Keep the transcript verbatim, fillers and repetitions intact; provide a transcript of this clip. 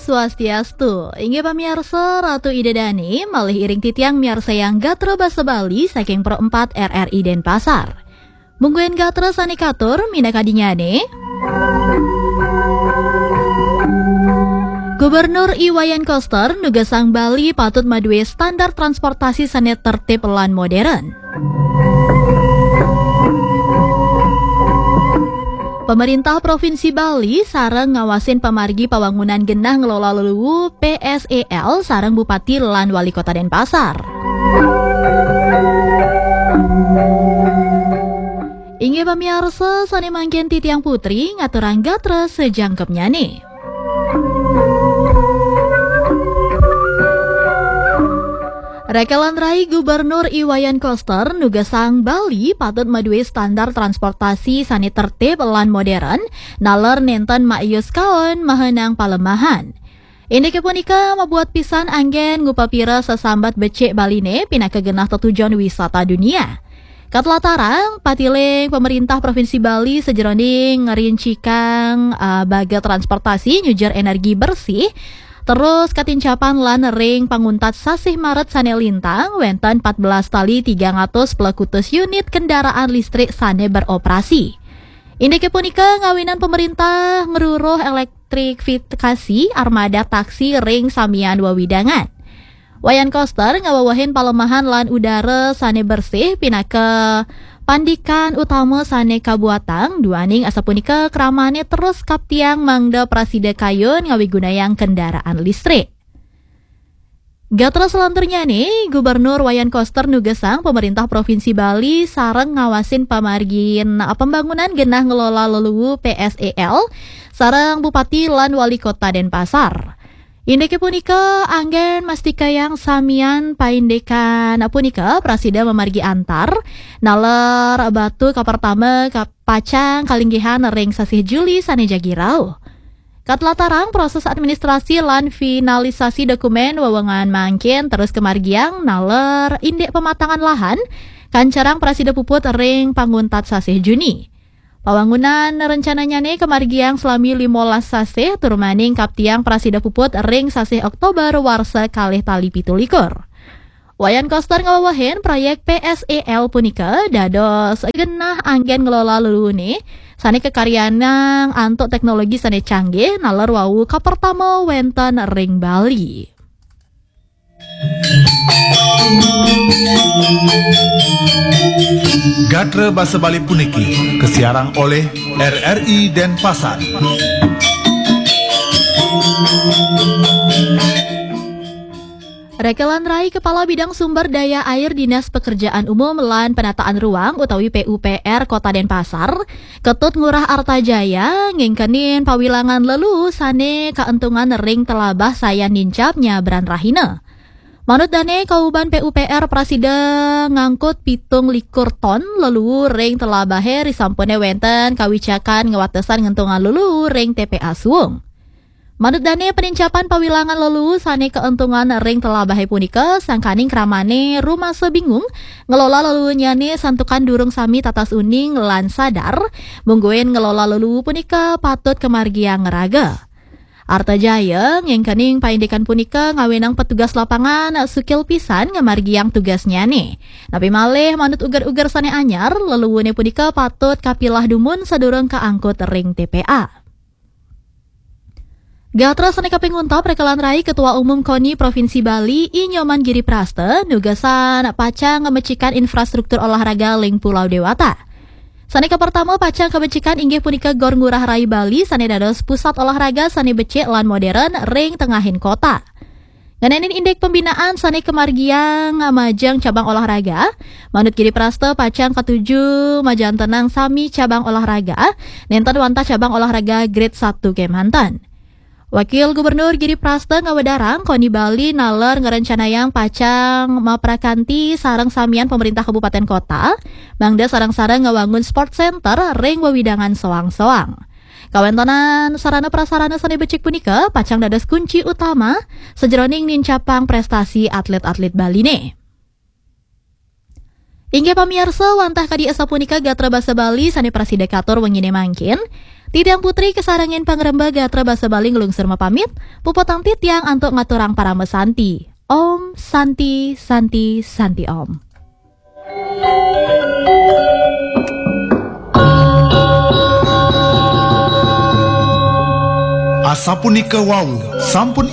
Swastiastu. Inggih pamiarsa, Ratu Ida Dani malih iring titiang miarsayang gatra basa Bali saking Pro empat R R I Denpasar. Mungguing gatra sane katur minakadinyane. Gubernur I Wayan Koster nugasang Bali patut maduwe standar transportasi sane tertib lan modern. Pemerintah Provinsi Bali sareng ngawasin pamargi pawangunan genah ngelola luluwu P S E L sareng Bupati lan Wali Kota Denpasar. Inggih pamiarsa, sane mangkin titiang Putri ngaturang gatra sajangkepnyane. Rekelan rai Gubernur I Wayan Koster nugasang Bali patut maduwe standar transportasi sane tertib lan modern, naler nenten maayus kaon mahenang palemahan. Indike punika mabuat pisan anggen ngupapira sesambat becik Baline pinaka genah tetujon wisata dunia. Katlatarang, patiling pemerintah Provinsi Bali sajeroning ngrincikang, ah, baga transportasi nyujar energi bersih, terus katincapan lan ring panguntat sasih Maret sane lintang, wenten empat belas tali tigang atus pelekutus unit kendaraan listrik sane beroperasi. Indike punika ngawinan pemerintah ngruruh elektrifikasi armada taksi ring samian wewidangan. Wayan Koster ngawewehin palemahan lan udara sane bersih pinaka pandikan utama sane kabuatang, duaning asapunika kramane terus kaptiang mangda prasida kayun ngawigunayang kendaraan listrik. Gatra salanturnyane, Gubernur Wayan Koster nugasang pemerintah Provinsi Bali sareng ngawasin pamargin pembangunan genah ngelola luluwu P S E L sareng Bupati lan Wali Kota Denpasar. Indike punika anggen mastikayang samian paindikan punika prasida mamargi antar, naler batu kapertama ka pacang kalinggihan ring sasih Juli sane jagi rauh. Katlatarang, proses administrasi lan finalisasi dokumen wewengan mangkin terus kamargiang, naler indik pematangan lahan kancarang prasida puput ring panguntat sasih Juni. Pawangunan rencananyane kamargiang salami limolas sasih, tur maning kaptiang prasida puput ring sasih Oktober warsa kalih tali pitu likur. Wayan Koster ngawewehin proyek P S E L punika dados genah anggen ngelola luluwune sane kakaryanang antuk teknologi sane canggih, naler wau kapertama wenten ring Bali. Gatra basa Bali puniki kasiarang oleh R R I Denpasar. Rekelan rai Kepala Bidang Sumber Daya Air Dinas Pekerjaan Umum lan Penataan Ruang utawi P U P R Kota Denpasar ketut ngurah arta jaya ngengkenin pawilangan lelu sane kaentungan ring telabah sayan nincap nyabran rahina. Manut dane, kauban P U P R prasida ngangkut pitung likur ton lelu ring telabahe risampune wenten kawicakan ngawatesan ngentungan lelu ring T P A suung. Manut dane, penincapan pawilangan lelu sane kaentungan ring telabahe punika sangkaning kramane rumasa bingung ngelola lelunyane santukan durung sami tatas uning lan sadar, mungguin ngelola lelu punika patut kamargiang raga. Arta Jaya ngengkening paindikan punika ngawinang petugas lapangan sukil pisan ngamargiang tugasnyane. Napi malih, manut uger-uger sane anyar, leluwune punika patut kapilah dumun sadurung kaangkut ring T P A. Gatra sane kaping untat, rekelan rai Ketua Umum koni Provinsi Bali, I Nyoman Giri Prasta, nugasan pacang ngamecikan infrastruktur olahraga ling Pulau Dewata. Sane kapertama, pacang kabecikan inggih punika Gor Ngurah Rai Bali sane dados pusat olahraga sane becik lan modern ring tengahing kota. Ngenenin indik pembinaan sane kamargiang majeng cabang olahraga, manut Giri Prasta pacang katuju majantenang sami cabang olahraga, nenten wantah cabang olahraga grade satu kemanten. Wakil Gubernur Giri Prasta ngawedarang koni Bali naler ngrencanayang pacang maprakanti sareng samian pemerintah kabupaten kota, mangda sareng-sareng ngawangun sport center ring wewidangan soang-soang. Kawentenan sarana prasarana sane becik punika pacang dados kunci utama sajeroning nincapang prestasi atlet-atlet Baline. Inggih pamiarsa, wantah kadi asapunika gatra basa Bali sane prasida katur wengine mangkin. Titiang Putri kasarengin pangrembag Gatra Basa Bali nglungsur mapamit, puputang titiang antuk ngaturang parama santi. Om Santi, Santi, Santi Om. Asapunika wau, sampun